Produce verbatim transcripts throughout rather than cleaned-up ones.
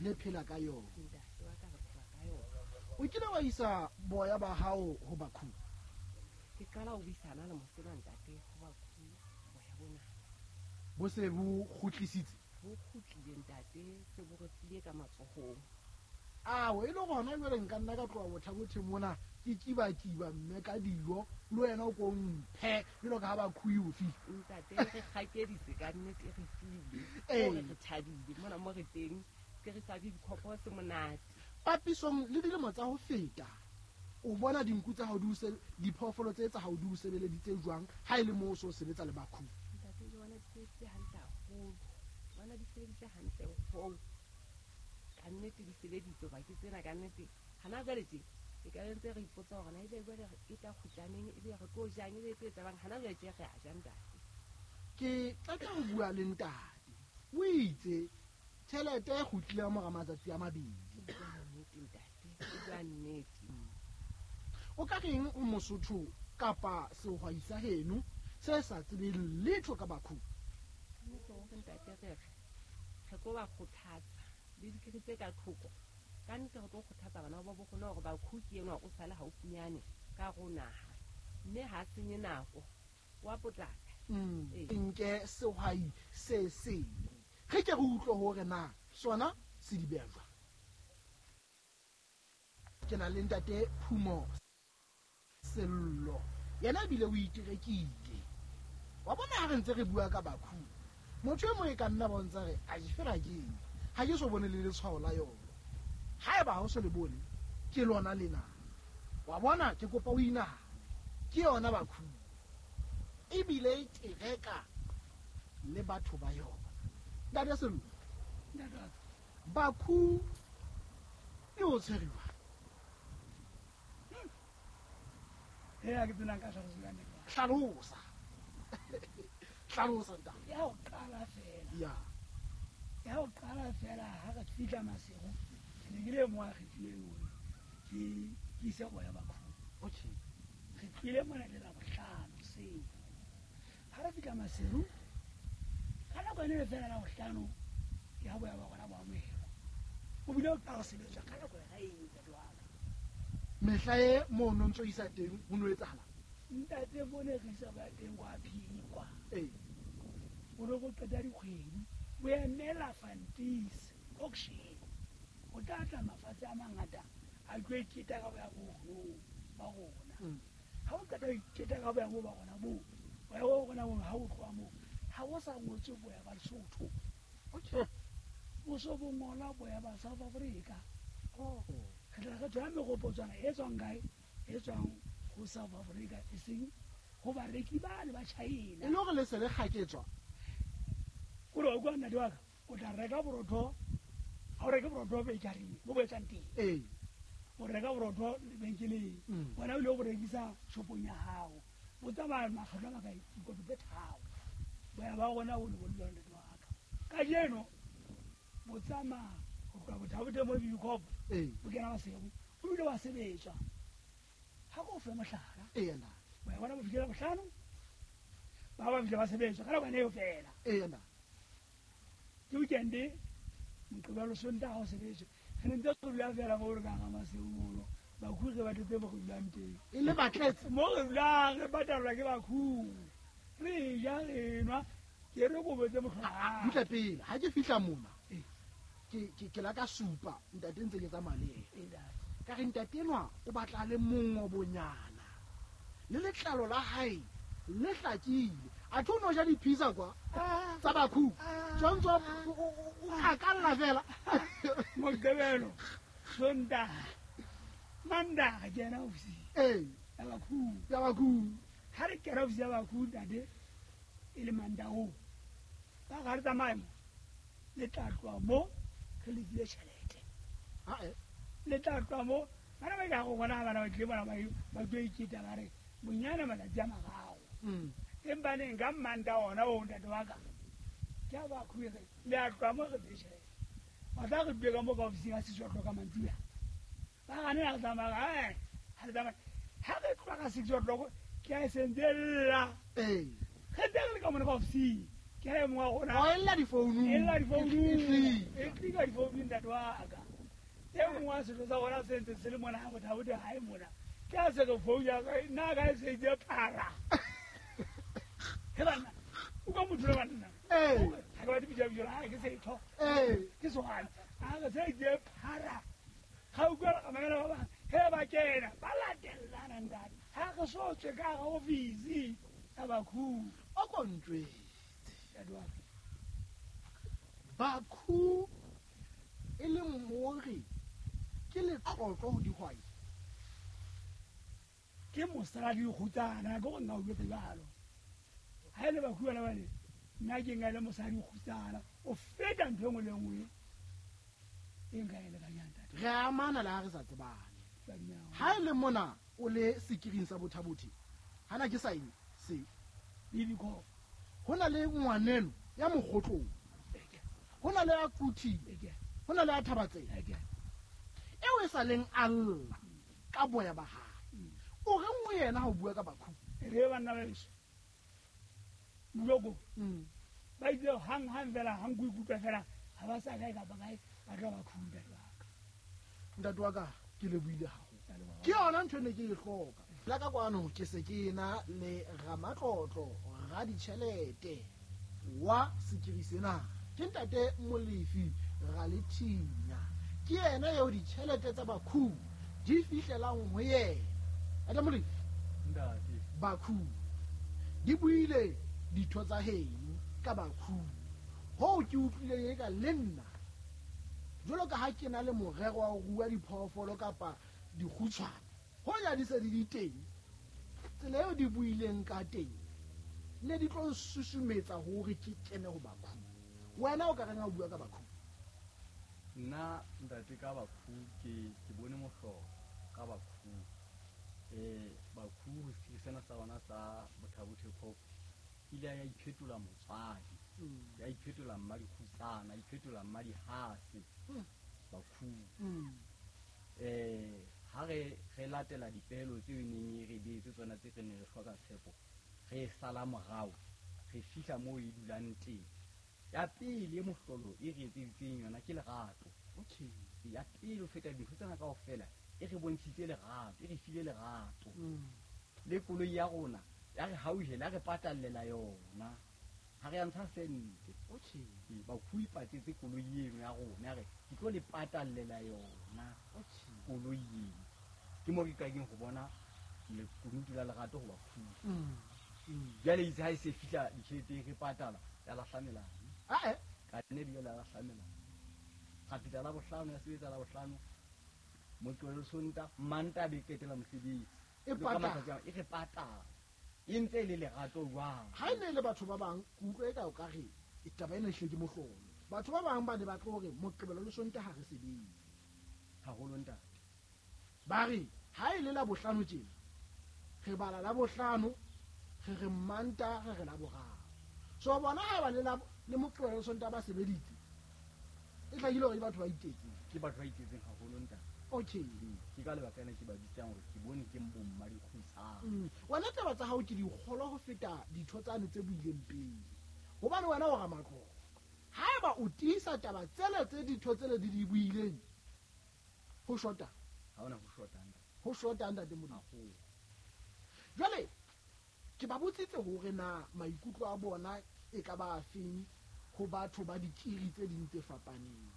Le phela ka yona. Ntate wa ka re phela ka yona. O kile wa isa boya ba hao ho Bakhu? Ke qala ho buisana le mosena ntate ho Bakhu boya bona. Bo se bo kgutlisitse? Bo kgutlile ntate, se bo re tlile ka matsohong. Ao, e le gona jwale nka nna ka tloha Botha-Bothe mona ke kiba-kiba mme ka dijo le wena o ko mphe jwalo ka ha Bakhu e o file. Ntate re kgakeditse ka nnete re file. Ee. Hore re thabile mona mo re teng ke re sa dikgopo se monate. Papisong le dilemo tsa ho feta, o bona dinku tsa hao di o se- diphoofolo tse tsa hao di o sebeleditse jwang ha e le moo o so sebetsa le Bakhu? Ntate ke bona di sebeditse hantle haholo. Ke bona di sebeditse hantle hoo. Ka nnete di sebeditse hoba ke tsena ka nnete. Hana jwale tje e ka be ntse re ipotsa hore na ebe jwale e tla kgutla neng, ebe re tlo jang, ebe e tlo etsahalang. Hana jwale tje re a ja ntate. Ke qeta ho bua le ntate. O itse tjhelete e kgutlile ka mora matsatsi a mabedi. O bua nnete ntate, o bua nnete. O ka reng o Mosotho kapa sehwai sa heno se sa tsebeng letho ka Bakhu? Ka nnete hore ntate re re re tlo ba kgothatsa le dikiri tse ka thoko. Ka nnete re tlo kgothatsa bana ba bo rona hore Bakhu ke enwa o sale haufinyane ka hare ho naha. Mme ha a senye nako, wa potlaka. Mm. Ee. Nke sehwai se seng. Re ke re utlwe hore na sona se di beha jwang. Ke na le ntate Phumo Sello. Yena ebile o iterekile. Wa bona ha re ntse re bua ka Bakhu, motho e mong e ka nna ba o ntsa re, a fela ke eng? Ha ke so bone le letshwao la yona. Haeba ha o so le bone, ke lona lena. Wa bona ke kopa o inahane. Ke yona Bakhu. Ebile e tereka le batho ba yona. Ntate Sello. Ntate wa ka. Bakhu e o tshwere jwang? He, ha ke tsena nka hlalosa jwang ntate wa ka? Hlalosa. Hlalosa ntate. Ya ho qala fela. Ya. Ya ho qala fela ha re fihla Maseru, ke ne ke le mo a kgethileng hore ke ke ise boya Bakhu. Okay. Re tlile mona le Labohlano hoseng. Ha re fihla Maseru, ka nako ene le fela Labohlano, ya boya ba rona bo amohelwa. O bile o qala ho sebetswa ka nako ya eng ntate wa ka. Mehla e mo no ntso isa teng ho no etsahala? Ntate mo ne re isa boya teng kwa Phikwa. Ee. O no go qeta dikgwedi, bo emela Fantis auction. O tla tla mafatshe a mangata a tlo iketa ka boya bo ba rona. Mm. Ha o qeta ho iketa ka boya bo ba rona bo, boya bo rona bo ha o tloha moo, ha o sa ngotswe boya ba Lesotho. Okay. O so bo ngola boya ba South Africa. Oh. Re tla re thola meropotswana e tswang kae? E tswang ho South Africa, e seng ho bareki bane ba China. E le hore le se le kgaketswa? O re wa utlwa ntate wa ka, o tla reka borotho, ha o reke borotho bakery, mo bo etsang teng. Ee. O reka borotho lebenkeleng, Mm. wena o ile o bo rekisa shopong ya hao. O tsamaya makgetlo a makae? Dikoto tse tharo. Boya ba rona bo ne bo le jwalo ntate wa ka. Kajeno bo tsamaya ho tloha Botha-Bothe mo Bibikop, Ee. bo kena Maseru, o bile wa sebetswa. Ha ko fe mohlala. Ee, ntate. Boya bona bo fihlile Labohlano, ba ba fihle ba sebetswa ka nako eo fela. Ee, ntate. Ke weekend, Moqebelo, Sontaha ho sebetswa. Re ne ntse re dula fela mo re ka hara Maseru mono. Bakhu re ba tletse mo re dulang teng. E le ba tletse? Mo re dulang re patalwa ke bakhu. Re ja, re nwa, ke re kobo tse mohlala. Ah, butle pele, ha ke fihla mona, Ee. ke, ke, ke la ka supa ntate ntse ke tsamaya le yena. Ee, ntate. Ka re ntate enwa o batla le mongobonyana. Le letlalo la hae le hlakile. Athe o no ja di-pizza kwa? Ah. Tsa Bakhu. Ah. Tshwantse o, o, o, o kgakalla fela. Moqebelo, Sontaha, Mantaha ke ena ofising. Ee. Ya Bakhu. Ya Bakhu. Ha re kena ofising ya Bakhu ntate, e le Mantaha oo. Ba re ha re tsamaye mo, le tla tloha mo, re lefile tjhelete. Ha e. Le tla tloha mo, bana ba ka go bona bana ba tlile bona ba ba tlo iketa ba re bonyane matsatsi a mararo. Mm. Empa neng ka Mantaha ona oo ntate wa ka, ke a Bakhu re, le a tloha mo re lefile tjhelete. Wa tla re dule ka mo ka ofising ya six o'clock ka mantsiboya. Ba gane ha re tsamaya, ha ha re tsamaya. Ha re tloha ka six o'clock, ke a e sentse lla. Ee. Re ntse re le ka mona ka ofising, Ke ha e mong wa rona. O ella difounung. E lla difounung. E tlika difounung ntate wa ka. E mong wa setho sa rona se ntse se le mona ha Botha-Bothe hae mona. Ke ha se re founu ya ka, nna ka e se itse phara. He banna, o ka motho le banna. Ee. Ha ke batle bitsa bitso la hae, ke setho. Ee. Ke sehwai. Ha re se itse phara. Ga utlwa ka mamela ba bang, he ba kena, ba latellana ntate. Ha re so tswe ka hara ofisi ya Bakhu. O ko ntjwetse. Bakhu e leng hore ke letlotlo ho dihwai. Ke mosadi kgutsana, ke go nna o jwetse jwalo. Ha e le Bakhu bana bane, nna ke nka le mosadi kgutsana, o feta ntho e nngwe le nngwe e nka e lekanyang ntate. Re amana le ha re sa tsebane. Ha e le mona o le sekiring sa Botha-Bothe, hana ke sa eng se Bibiko. Ho na le ngwaneno ya mokgotlong. Ho na le ya Quthing. Ho na le ya Thabatseng. Eo e sa leng a lla ka boya ba hae. O reng ho yena ha o bua ka Bakhu? Re banna ba heso. Moloko. Mm. Ba itse hang hang fela hang go ikutlwa fela ha ba sa kae kapa kae ba tla Bakhu ntate wa ka. Ntate wa ka ke lebohile haholo. Ke yona ntho e ne ke e hloka. La ka kwano ke se ke na le ramatlotlo raditjhelete wa sekiri sena. Ke ntate Molefi Ralethinya. Ke yena eo ditjhelete tsa Bakhu di fihlelang ho yena. Ntate Molefi. Ntate. Bakhu di buile ditho tsa heno ka Bakhu. Hoo ke utlwileng eka le nna jwalo ka ha ke na le morero wa ho rua diphoofolo kapa dikgutshwane, hoja di se di le teng, tsela eo di buileng ka teng ne di tlo nsusumetsa hore ke kene ho Bakhu. Wena o ka reng ha o bua ka Bakhu? Nna ntate ka Bakhu ke ke bone mohlolo ka Bakhu. Eh Bakhu ho sekiri sena sa rona sa Botha-Bothe Coop ile ya iphetola motswadi. Ya iphetola mma dikgutsana, ya iphetola mma dihase. Bakhu. Eh ha re re latela dipehelo tseo e neng e re beetse tsona tse re neng re hloka tshepo, re sala morao, re fihla moo e dulang teng. Ya pele e mohlolo e re etseditseng yona ke lerato. Okay. Ya pele ho feta dintho tsena kaofela e re bontshitse lerato, e re file lerato. Le koloi ya rona ya re hauhela, ya re patallela yona. Ha re ya ntsha sente. Okay. Bakhu e patetse koloi eno ya rona, ya re ke tlo le patallela yona. Okay. Koloi eno. Ke mo ke qadileng ho bona lekunutu la lerato ho Bakhu. Mm. Mm. Jwale itse ha e se fihla ditjheleteng re patala, ya lahla melao. Ah eh. Ka nne ebile la lahla melao. Ra fihla la bohlano, ya sebetsa la bohlano. Moqebelo le Sontaha, Mantaha be qetela mosebetsi. E Le ka patala. matsatsi a, e re patala. E ntse e le lerato jwang? Ha e ne e le batho ba bang, ke utlwa eka o ka re taba ena ehlile ke mohlolo. Batho ba bang ba ne ba tlo hore Moqebelo le Sontaha ha re sebetse. Haholo ntate. Ba re ha e le la bohlano tjena, re bala la bohlano, re re Mantaha, re re la boraro. So bona ha ba le la le Moqebelo le Sontaha ba sebeditse, e hlakile hore ke batho ba iketseng. Ke batho ba iketseng haholo ntate. Okay. Ke ka lebaka lena ke ba bitsang hore ke bone ke bomma dikgutsana. Mm. Wena taba tsa hao ke dikgolo ho feta ditho tsane tse buileng pele. Hobane wena o ramatlotlo. Haeba o tiisa taba tsele tse ditho tsele di di buileng, ho shota. Ha hona ho shota ntate. Ho shota ntate Modimo. Haholo. Jwale ke ba botsitse hore na maikutlo a bona e ka ba afeng ho batho ba dikiri tse ding tse fapaneng.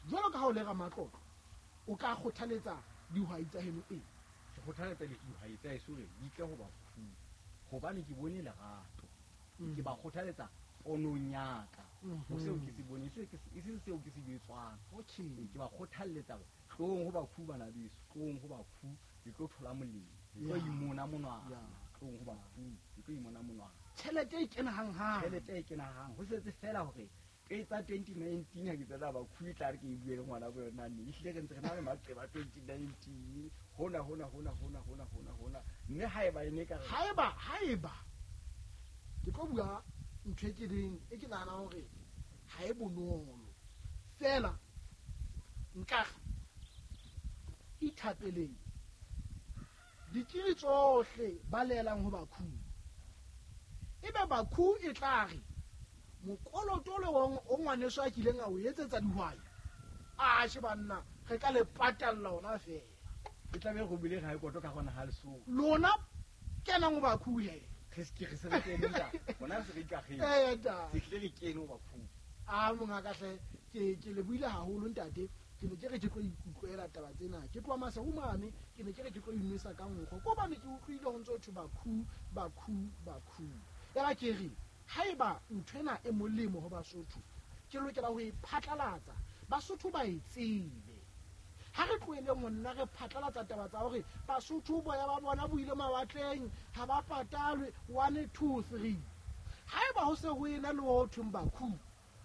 Jwalo ka ha o le ramatlotlo, o ka kgothaletsa dihwai tsa heno eng? Ke kgothaletsa dihwai tsa heso hore di tle ho Bakhu, hobane ke bone lerato. Mm. Ke ba kgothaletsa ponong ya ka. Mhm. Ho seo ke se boneng, e se e seng seo ke se jwetswang. Okay. Ke ba kgothalletsa hore tlohong ho Bakhu bana beso, tlohong ho Bakhu, le tlo thola molemo. Le tlo Yeah. imona monwana. Yeah. Tlohong ho Bakhu, le tlo imona monwana. Tjhelete e kena hanghang. Tjhelete e kena hang. Ho setse fela hore ke tsa twenty nineteen ha ke tsena Bakhu e tla re ke e bue le ngwana bo yona nne. Ehlile re ntse re na le maqeba twenty nineteen. Hona, hona, hona, hona, hona, hona, hona. Mme haeba e ne ka re Haeba, haeba ke tlo bua ntho e ke leng, e ke nahanang hore ha e bonolo. Feela nka re ithapeleng dikiri tsohle ba leelang ho Bakhu. Ebe Bakhu e tla re Mokoloto le o ngwaneso a kileng a o etsetsa dihwai. A she banna re ka le patalla ona fela. Ke tla be go bile ga e koto ka gona ha leso. Lona kenang ba khuhe. Re se ke re se re kene nta. Bona re se re ikagile. Eh nta. Se tle re kene ho ba khuhe. A monga ka hle ke ke le buile haholo ntate. Ke ne ke re ke tlo ikutlwela taba tsena. Ke tloha Maseru mane, ke ne ke re ke tlo inwesa ka nkgo. Ko bane ke utlwile ho ntso thwe bakhu, bakhu, bakhu. Ya ba ke re haeba nthwena e molemo ho Basotho, ke lokela ho e phatlalatsa. Basotho ba e tsebe. Ha re tlohele monna re phatlalatsa taba tsa hore Basotho boya ba bona bo ile mawatleng, ha ba patalwe one two three. Haeba ho se ho ena le ho thweng bakhu,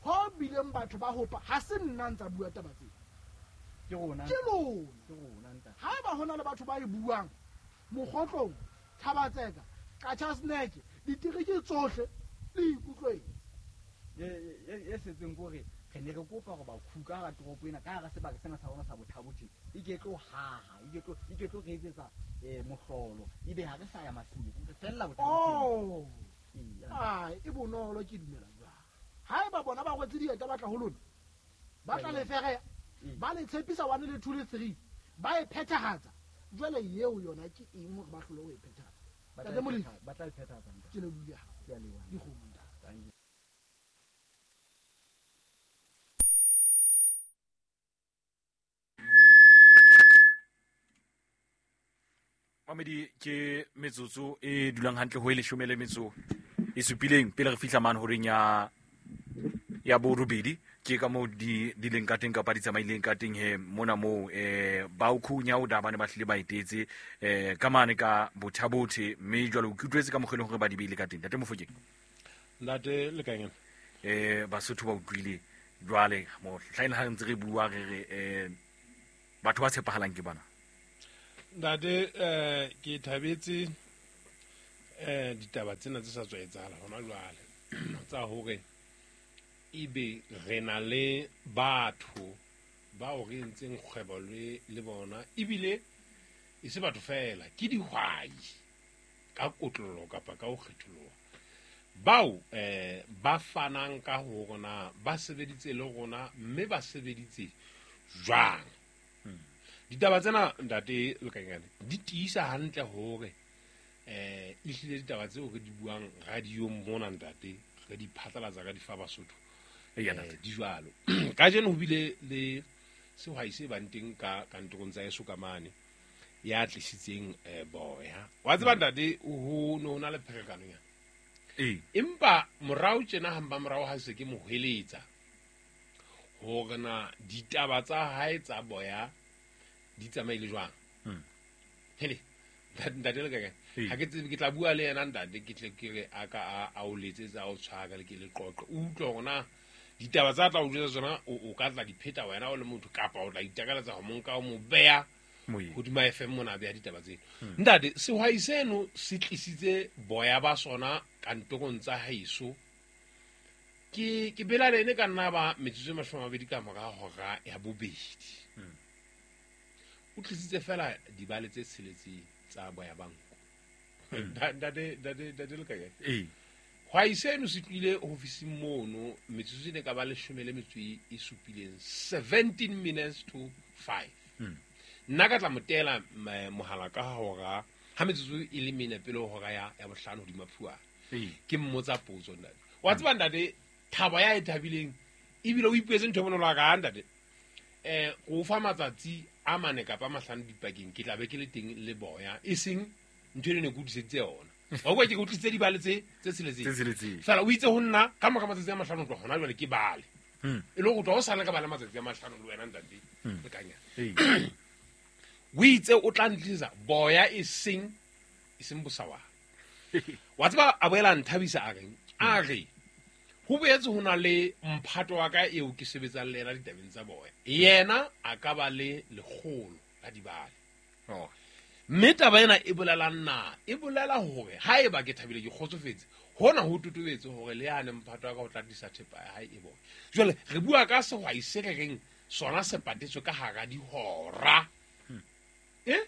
ho bileng batho ba hopa, ha se nna ntsa bua taba tsena. Ke rona. Ke lona. Ke rona ntate. Haeba hona le batho ba e buang, Mokgotlong, Thabatseka, Qachaseneke, ditereke tsohle le ikutlweng. Ye ye ye setseng kore re ne re kopa hore bakhu ka hara toropo ena, ka hara sebaka sena sa rona sa Bothabothe, e ke tlo haha, e ke tlo e ke tlo re etsetsa eh mohlolo, ebe ha re sa ya Maseru, re fella Bothabothe. Oh. Ai, e bonolo ke dumela jwang. Haeba bona ba rwetse dieta ba tla ho lona, ba tla le fereya, ba le tshepisa one le two le three, ba e phethahatsa. Jwale eo yona ke eng hore ba hlole ho e phethahatsa? Ntate Molefi, Ba tla e phethahatsa ntate. Ke lebohile haholo. Ke a leboha. Dikgomo ntate. Thank you. Mamedi ke metsotso e dulang hantle ho e leshome le metso e supileng pele re fihla mane horeng ya ya borobedi. Ke ka moo di di leng ka teng kapa di tsamaileng ka teng he mona moo eh ba o khunya o da bane ba hlile ba etetse eh ka mane ka Bothabothe, mme jwale o kutlwetse ka mokgwa hore ba di beile ka teng. Ntate Mofokeng. Ntate Lekanyana. Eh Basotho ba utlwile jwale mo hlaena ha ntse re bua re re eh batho ba tshepahalang ke bana. Ntate eh ke thabetse eh ditaba tsena tse sa tswa etsahala hona jwale tsa hore ebe re na le batho bao re entseng kgwebo le le bona, ebile e se batho fela, ke dihwai ka kotlolo kapa ka ho kgetholoha bao eh ba fanang ka ho rona, ba sebeditse le rona mme ba sebeditse jwang. Ditaba tsena ntate Lekanyane di tiisa hantle hore eh ehlile ditaba tseo re di buang radiong mona ntate re di phatlalatsa ka di fa Basotho eh di jwalo. Kajeno ho bile le sehwai se bang teng ka kantorong tsa eso ka mane ya tlisitseng eh boya. Wa tseba ntate ho no na le pherekano ya. Eh empa morao tjena hamba morao ha se ke mo hweletsa hore na ditaba tsa hae tsa boya di tsamaile jwang. Mm. Hele ntate Lekanyane ha ke tsebe ke tla bua le yena ntate, ke tle ke re a ka a a o letsetsa o tshwara le ke le qoqe, o utlwe hore na ditaba tsa tla o jwetsa tsona o ka tla di pheta wena o le motho kapa o tla itakaletsa ho monka o mo beya hodima F M mona beya ditaba tseno. Ntate sehwai seno se tlisitse boya ba sona kantorong tsa haeso. Ke ke bela le ene ka nna ba metsotso e mashome a mabedi ka mora hora ya bobedi. O tlisitse fela dibale tse tsheletseng tsa boya ba nku. Ntate ntate ntate Lekanyane. Eh. Hwai seno se tlile ofising mono metsotso e ne ka ba leshome le metso e supileng, seventeen minutes to five. Nna ka tla motela mohala ka hora ha metsotso e le mene pele hora ya ya bohlano hodima phuana. Ke mmotsa potso ntate. Wa tseba ntate thabo ya e thabileng ebile o ipuetse ntho e bonolo ka ntate. Eh go fa matsatsi a mane kapa mahlano dipakeng ke tla be ke le teng le boya, e seng ntho e ne ke utlwisitse yona. Wa kwa ke utlwisitse dibale tse tse tsheletseng. Fela o itse ho nna ka mora matsatsi a mahlano tloha hona jwale ke bale. E le go tloha o sale ka bale matsatsi a mahlano le wena ntate Lekanyane. O itse o tla ntlisa boya e seng e seng bosawa. Wa tseba a boela nthabisa a reng a re ho boetse ho na le mphato wa ka eo ke sebetsang le yena ditabeng tsa boya, yena a ka ba le lekgolo la dibale. Oh. Mme taba ena e bolela nna, e bolela hore haeba ke thabile ke kgotsofetse, hona ho totobetse hore le yane mphato wa ka o tla tlisa thepa ya hae e boya. Jwale re bua ka sehwai se re reng sona se patetswe ka hara dihora. Eh?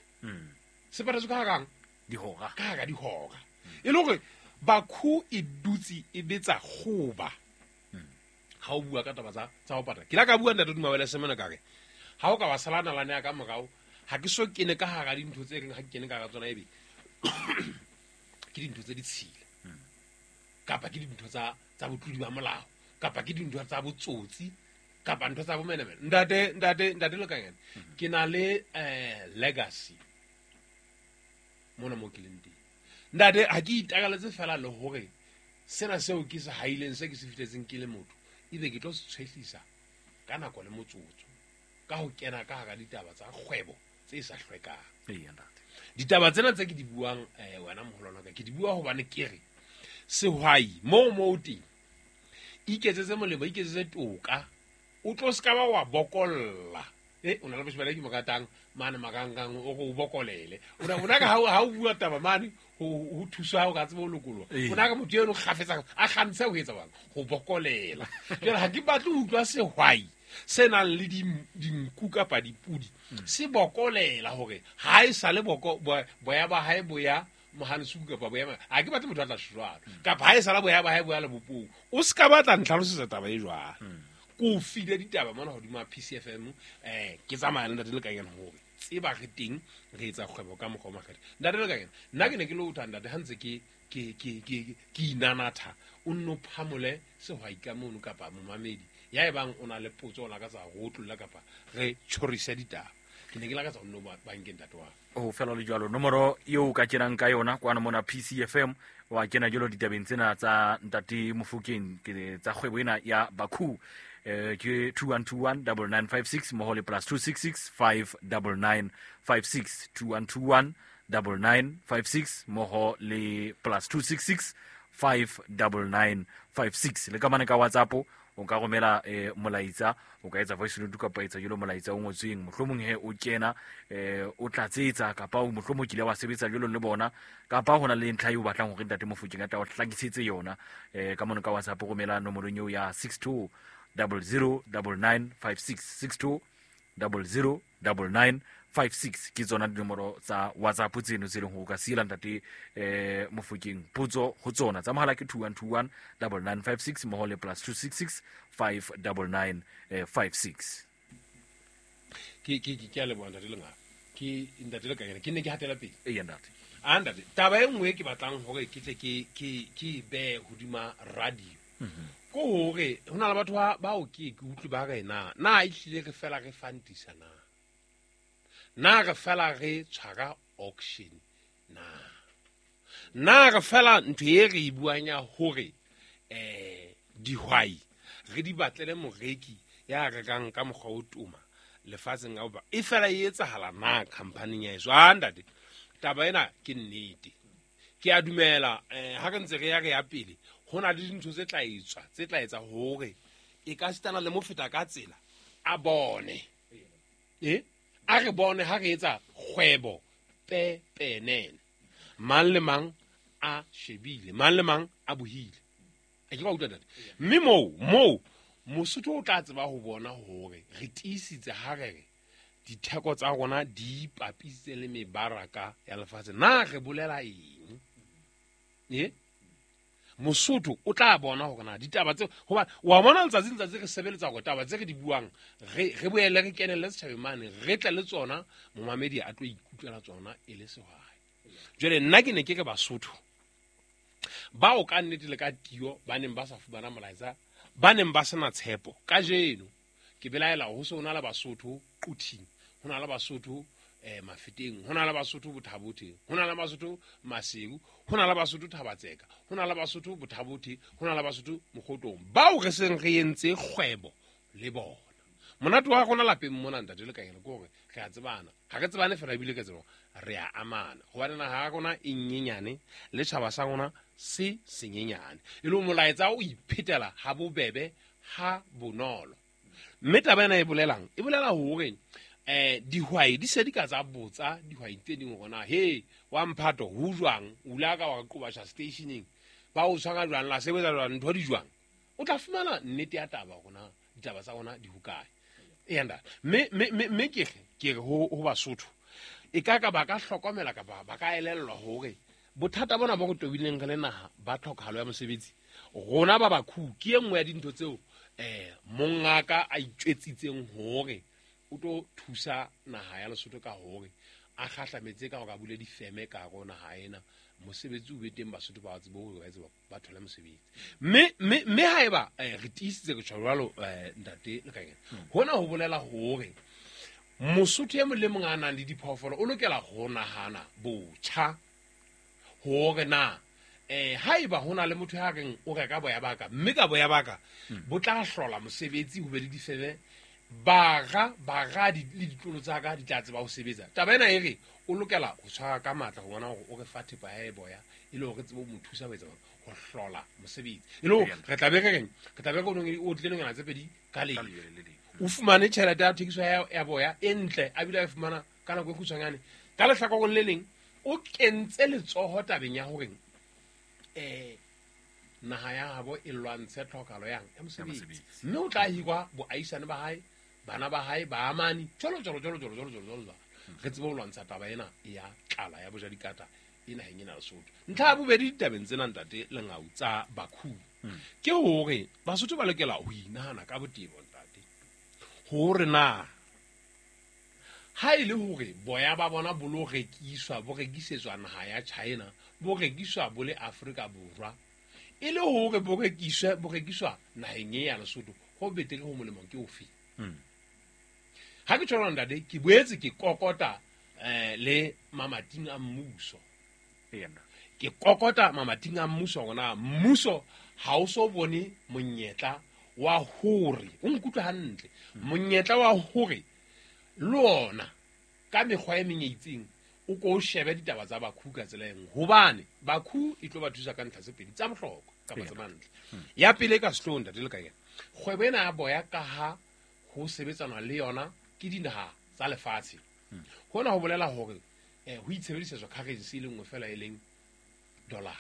Se patetswe ka hara dihora. Ka hara dihora. E le hore bakhu e dutse e betsa kgoba. ha o bua ka taba tsa tsa ho patala. Ke la ka bua ntate Dumabele Semene ka re ha o ka ba sala nalane ya ka morao ha ke so kene ka hara dintho tse reng ha ke kene ka hara tsona ebe ke dintho tse ditshila kapa ke dintho tsa tsa botlodi ba molao kapa ke dintho tsa botsotsi kapa ntho tsa bomenemene. Ntate ntate ntate Lekanyane, ke na le eh legacy mona mo ke leng teng. Ntate ha ke itakaletse fela le hore sena seo ke se haileng se ke se fihletseng ke le motho ebe ke tlo se tshwehlisa ka nako le motsotso ka ho kena ka hara ditaba tsa kgwebo tse sa hlwekang. Eya ntate. Ditaba tsena tse ke di buang eh wena moholwana ka ke di bua hobane ke re sehwai moo moo teng iketsetse molemo, iketsetse toka, o tlo ska ba wa bokolla. Eh o na le boshibela ke mokatang mane makangang o go bokolele. O na bona ka ha o bua taba mane ho ho thusa ho ka tsebo lokoloha. O na ka motho eno kgafetsa a kgantshe ho etsa bang ho bokolela. Jwale ha ke batle ho utlwa sehwai se nang le dinku kapa dipudi se bokolela hore ha e sale boko boya ba hae boya mohanesuku kapa boya ha ke batle motho a tla jwalo kapa ha e sala boya ba hae boya le bopong. O ska batla ntlhalosetsa taba e jwalo. Ko file ditaba mona hodima P C F M eh ke tsamaya le ntate Lekanyane hore tseba re teng re etsa kgwebo ka mokgwa o makgethe. Ntate Lekanyane nna ke ne ke le utlwa ntate ha ntse ke ke ke ke ke inanatha o nno phamole sehwai ka mono kapa momamedi ya e bang o na le potso o lakatsa go otlolla kapa re tjhorise ditaba. Ke ne ke lakatsa o nno bankeng ntate wa o fela le jwalo nomoro eo ka kenang ka yona kwana mona P C F M wa kena jalo ditabeng tsena tsa ntate Mofokeng ke tsa kgwebo ena ya Bakhu eh ke two one two one nine nine five six mmoho le plus two six six five nine nine five six two one two one nine nine five six mmoho le plus two six six five nine nine five six. Le ka mane ka WhatsApp o ka romela eh, molaetsa, o ka etsa voice note kapa etsa jalo molaetsa o ngotsweng, mohlomong he o kena eh, o tlatsetsa kapa o mohlomong kile wa sebetsa jalo le bona kapa hona le ntlha eo batlang hore ntate Mofokeng a tla o hlakisetse yona eh, ka mono ka WhatsApp romela nomorong eo ya six two double zero double nine five six six two double zero double nine five six ke tsona dinomoro tsa WhatsApp tseno tse leng hore o ka siela ntate eh Mofokeng potso ho tsona. Tsa mohala ke two one two one nine nine five six mmoho le plus two six six five nine nine five six. Ke ke ke a leboha ntate Lengaka. Ke ntate Lekanyane ke ne ke hatela pele. Eya ntate. A ntate taba e nngwe ke batlang hore ke tle ke ke ke be hodima radio. Ko hore ho na le batho ba bao ke ke utlwe ba re na na e hlile re fela re fantisa na na re fela re tshwara auction na na re fela ntho e re e buang ya hore eh dihwai re di batlele moreki ya rekang ka mokgwa o tuma lefatsheng ka bophara e fela e etsahala na company ya eso. A ntate taba ena ke nnete ke a dumela eh ha re ntse re ya re ya pele ho na le dintho tse tla etswa tse tla etsa hore e ka sitana le mofeta ka tsela a bone eh a re bone ha re etsa kgwebo pepenene mang le mang a shebile mang le mang a bohile a ke ba utlwa ntate. Mme moo moo Mosotho o tla tseba ho bona hore re tiisitse ha re re ditheko tsa rona di ipapisitse le mebaraka ya lefatshe na re bolela eng eh Mosotho o tla bona hore na ditaba tse hoba wa bona letsatsi letsatsi re sebeletsa hore taba tse re di buang re re boele re kenelle setjhabeng mane re tle le tsona momamedi a tlo ikutlwela tsona e le sehwai. Jwale nna ke ne ke re Basotho bao ka nnete le ka tio ba neng ba sa fumana molaetsa ba neng ba sena tshepo kajeno ke belaela ho se ho na le Basotho Quthing, ho na le Basotho eh Mafeteng, ho na le Basotho Bothabothe, ho na le Basotho Maseru, ho na le Basotho Thabatseka, ho na le Basotho Bothabothe, ho na le Basotho Mokgotong bao re seng re entse kgwebo le bona. Monate wa rona lapeng mona ntate Lekanyane ke hore re a tsebana ha re tsebane fela ebile ke tsebo re a amana hobane naha ya rona e nyenyane le tjhaba sa rona se senyenyane e le molaetsa o iphetela ha bobebe ha bonolo. Mme taba ena e bolelang e bolela hore eh dihwai di se di ka tsa botsa dihwai tse ding hore na he wa mphato ho jwang o la ka wa qobasha stationeng ba o tshwara jwang la sebetsa jwang ntho di jwang o tla fumana nnete ya taba hore na ditaba tsa rona di hokae. E anda mme mme mme ke ke re ho ho Basotho e ka ka ba ka hlokomela kapa ba ka elellwa hore bothata bona bo re tobileng re le naha ba tlhokahalo ya mosebetsi rona ba Bakhu ke e nngwe ya dintho tseo eh mongaka a itjwetsitseng hore o tlo thusa naha ya Lesotho ka hore a kgahlametse ka hore a bule difeme ka hare ho naha ena, mosebetsi o be teng, Basotho ba tsebe hore ba etse ba thole mosebetsi. Mme mme mme haeba re tiisitse ke tjho jwalo ntate Lekanyana, hona ho bolela hore Mosotho e mong le mong a nang le diphoofolo o lokela ho nahana botjha hore na eh haeba hona le motho ya reng o reka boya baka, mme ka boya baka bo tla hlola mosebetsi ho be le difeme, bara baradi le ditlolo tsa ka di tla tseba ho sebetsa. Taba ena e re o lokela ho tshwara ka matla ho bona hore o re fa thepa ya boya e le hore tsebe ho mo thusa ho etsa ho hlola mosebetsi. E le hore re tla be re reng, re tla be re o tlile nonyana tse pedi ka le o fumane tjhelete ya thekiso ya boya e ntle, a bile a e fumana ka nako e kgutshwanyane. Ka lehlakoreng le leng o kentse letsoho tabeng ya hore eh naha ya habo e lwantshe tlhokahalo yang ya mosebetsi, mme o tla hirwa boahisane ba hae, bana ba hae, baamani, jwalo jwalo jwalo jwalo jwalo jwalo jwalo. Re tsebe ho lwantsha taba ena ya tlala ya bojadikata e naheng ena Lesotho. Ntlha ya bobedi ditabeng tsena ntate Lengau tsa Bakhu ke hore Basotho ba lokela ho inahana ka botebo ntate, hore na ha e le hore boya ba bona bo lo rekiswa, bo rekisetswa naha ya China, bo rekiswa bo le Afrika Borwa, e le hore bo rekiswe bo rekiswa naheng ya Lesotho, ho betere ho molemo ke ofe? Ha ke tjho ntate, ke boetse ke kokota eh le mamating a mmuso. Ke kokota mamating a mmuso hore mmuso ha o so bone monyetla wa hore o nkutlwe hantle, monyetla wa hore le ona ka mekgwa e meng e itseng o ko o shebe ditaba tsa Bakhu ka tsela e nngwe, hobane Bakhu e tlo ba thusa ka ntlha tse pedi tsa bohlokwa kapa tse mantle. Ya pele ka sehloohong ntate Lekanyana, kgwebo ena ya boya ka ha ho sebetsanwa le yona ke dinaha tsa lefatshe, hona ho bolela hore eh ho itshebedisetswa currency e le nngwe fela e leng dollar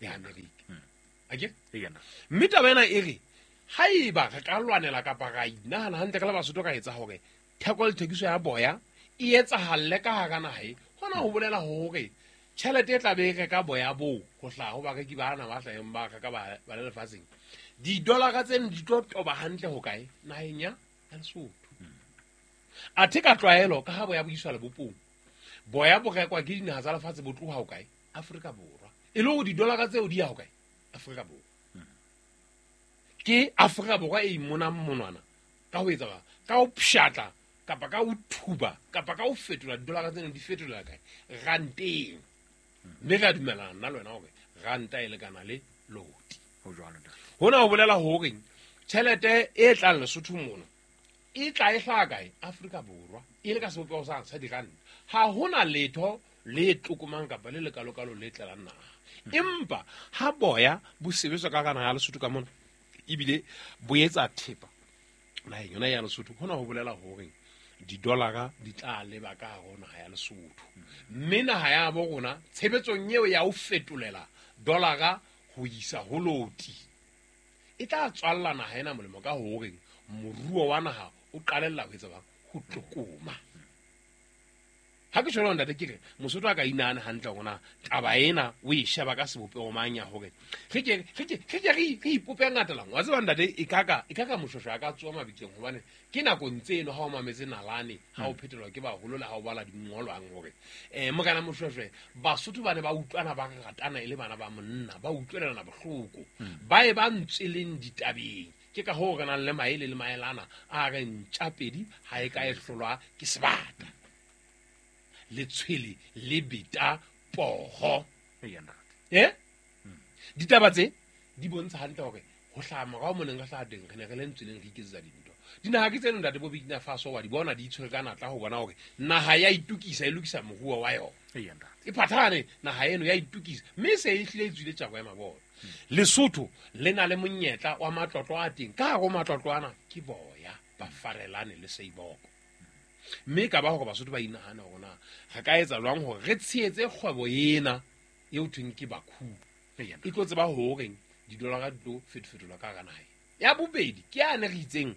ya America. Ake? Mme taba ena e re haeba re ka lwanela kapa ra inahana hantle ka le Basotho ka etsa hore theko le thekiso ya boya e etsahalle ka hara naha e, hona ho bolela hore tjhelete e tla be e reka boya boo ho hlaha ho bareki bana ba hlaheng ba reka ba ba le lefatsheng, didolara tseno di tlo toba hantle ho kae? Naheng ya Lesotho. Athe ka tlwaelo ka ha boya bo iswa lebopong, boya bo rekwa ke dinaha tsa lefatshe bo tloha ho kae? Afrika Borwa. E le hore didolara tseo di ya ho kae? Afrika Borwa. Ke Afrika Borwa e imonang monwana ka ho etsa ka ho pshatla kapa ka ho thuba kapa ka ho fetola didolara tseno di fetolela kae? Ranteng. Mme re a dumellana nna le wena hore ranta e lekana le loti. Hona ho bolela hore tjhelete e tlang Lesotho mona e tla e hlaha kae? Afrika Borwa, e le ka sebopeho sa sa diranta. Ha hona letho le tlokomang kapa le lekalokalo le tlelang naha. Empa ha boya bo sebetswa ka hara naha ya Lesotho ka mona, ebile bo etsa thepa naheng yona ya Lesotho, hona ho bolela hore didolara di tla leba ka hare ho naha ya Lesotho. Mme naha ya bo rona tshebetsong eo ya ho fetolela dolara ho isa ho loti e tla tswalla naha ena molemo ka hore moruo wa naha o qalella ho etsa bang ho tlokoma. Ha ke tjho ntate ke re Mosotho a ka inahana hantle hore na taba ena o e sheba ka sebopeho mang ya hore re ke re ke re ke re ipope ngata lang. Wa tseba ntate e kaka e kaka moshosho a ka tsoa mabitleng, hobane ke nakong tseno ha o mametse nalane ha o phetelwa ke baholo le ha o bala dingolwang hore eh mokana moshosho Basotho ba ne ba utlwana ba ratana e le bana ba monna, ba utlwelana bohloko, ba e ba ntsweleng ditabeng. Ke ka hoo re nang le maele le maelana a re ntjapedi ha e ka e hlolwa ke sebata, letshwele le beta poho. Eh ditaba tse di bontsha hantle hore ho hlaha morao moneng re hlaha teng re ne re le ntsweleng re iketsetsa dintho. Dinaha ke tseno ntate bo Burkina Faso wa di bona di itshwere ka natla ho bona hore naha ya itukisa e lokisa moruo wa yona. E phathane naha eno ya itukisa, mme se e hlile e tswile tjako ya mabona. Lesotho le na le monyetla wa matlotlo a teng, ka hare ho matlotlo ana ke boya ba farelane le seiboko. Mme ka ba hore Basotho ba inahana hore na re ka etsa jwang hore re tshehetse kgwebo ena eo thweng ke Bakhu, e tlo tseba hore didolara di tlo fetofetolwa ka hara naha. Ya bobedi ke yane re itseng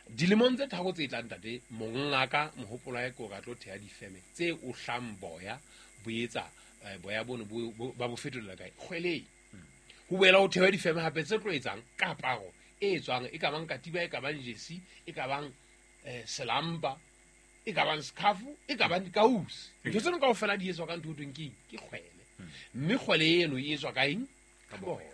dilemong tse tharo tse tlang ntate mongaka mohopolo wa hae ke hore a tlo theha difeme tse ohlang boya bo etsa boya bono ba bo fetolela kae? Kgweleng. Ho boela ho theha difeme hape tse tlo etsang kaparo e etswang e ka bang katiba, e ka bang jesi, e ka bang eh, selampa, e ka bang scarf, e ka bang dikausi. Ntho tseno kaofela di etswa ka ntho e thweng ke eng? Ke kgwele. Mme kgwele eno e etswa ka eng? Ka boya.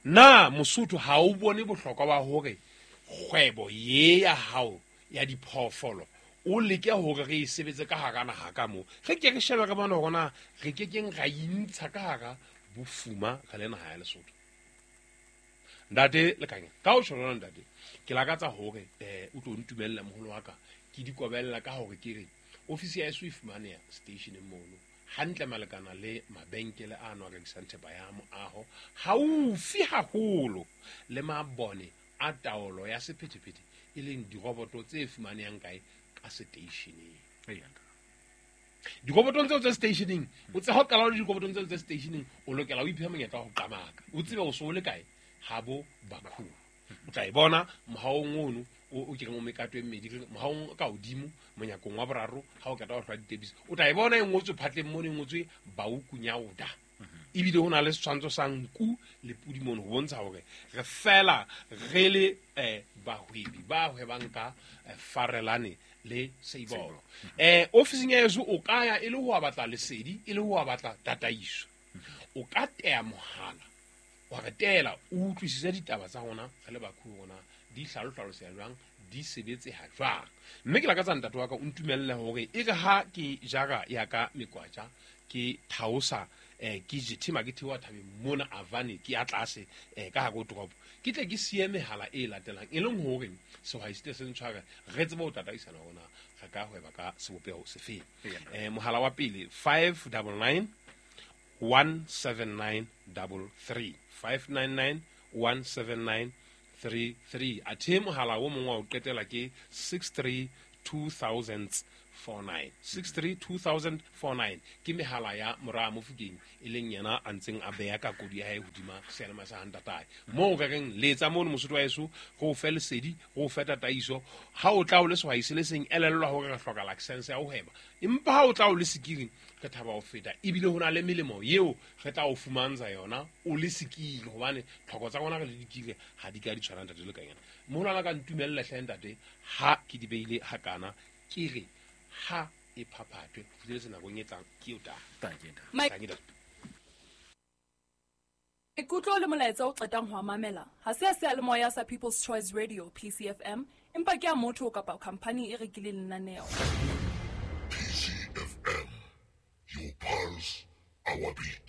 Na Mosotho ha o bone bohlokwa ba hore kgwebo ye ya hao ya diphoofolo o leke hore re e sebetse ka hara naha ka moo? Re ke re shebe re bone hore na re ke keng ra intsha ka hara bofuma re le naha ya Lesotho. Ntate Lekanya, ka ho tjho jwalo ntate, ke lakatsa hore eh o tlo ntumella moholo wa ka, ke di kobella ka hore ke re ofisi ya eso e fumaneha stationeng mono hantle malekana le mabenkele a no a rekisang thepa ya moaho haufi haholo le mabone a taolo ya sephethephethe, e leng diroboto tse fumanehang kae? Ka stationeng. Dirobotong tseo tse stationeng, o tse ha o qala o le dirobotong tseo tse stationeng, o lokela o iphe monyetla wa ho qamaka, o tsebe o so o le kae habo Bakhu. O tla e bona mohaong ono o o kereng o mekato e mmedi, mohaong ka hodimo monyakong wa boraro ha o qeta ho hlwa ditebisi, o tla e bona e ngotswe phatleng mono, e ngotswe Bauku Nyauda. Ebile ho na le setshwantsho sa nku le pudi mono ho bontsha hore re fela re le eh bahwebi ba hwebang ka eh, Farelane le Seibolo. Eh ofising ya heso o ka ya e le ho batla lesedi, e le ho batla tataiso. O ka teya mohala wa re teela, o utlwisise ditaba tsa rona re le Bakhu rona di hlalohlaloseha jwang, di sebetseha jwang. Mme ke lakatsa ntate wa ka o ntumelle hore e re ha ke jara ya ka mekwatja ke thaosa eh ke jethema ke theoha thabeng mona Avane ke ya tlase eh ka hare ho toropo, ke tle ke siye mehala e latelang, e leng hore sehwai se tle se ntshware re tsebe ho tataisana hore na re ka hweba ka sebopeho sefeng. Eh mohala wa pele five double nine one seven nine double three, five nine nine one seven nine three three. Athe mohala o mongwe wa ho qetela ke six three two thousand four nine, six three two thousand four nine. Ke mehala ya mora Mofokeng, e leng yena a ntseng a beha ka kodi ya hae hodima seyalemoya sa ntatae. Moo re reng letsa mono Mosotho wa heso, re o fe lesedi, re o fe tataiso. Ha o tla o le sehwai se le seng, elellwa hore re hloka license ya ho hweba, empa ha o tla o le sekiri re thaba ho feta, ebile ho na le melemo eo re tla o fumantsha yona o le sekiri, hobane tlhoko tsa rona re le dikiri ha di ka di tshwana ntate Lekanyana. Moholo wa ka ntumelle hle ntate, ha ke di beile hakana, ke re ha e phaphathwe ho fihletse nakong e tlang, ke eo taba. Thank you, ntate. Mike. Thank you, ntate. Maikutlo le molaetsa o qetang ho a mamela ha se a seyalemoya sa People's Choice Radio P C F M, empa ke a motho kapa khamphani e rekileng lenaneo. P C F M, your pulse, our beat.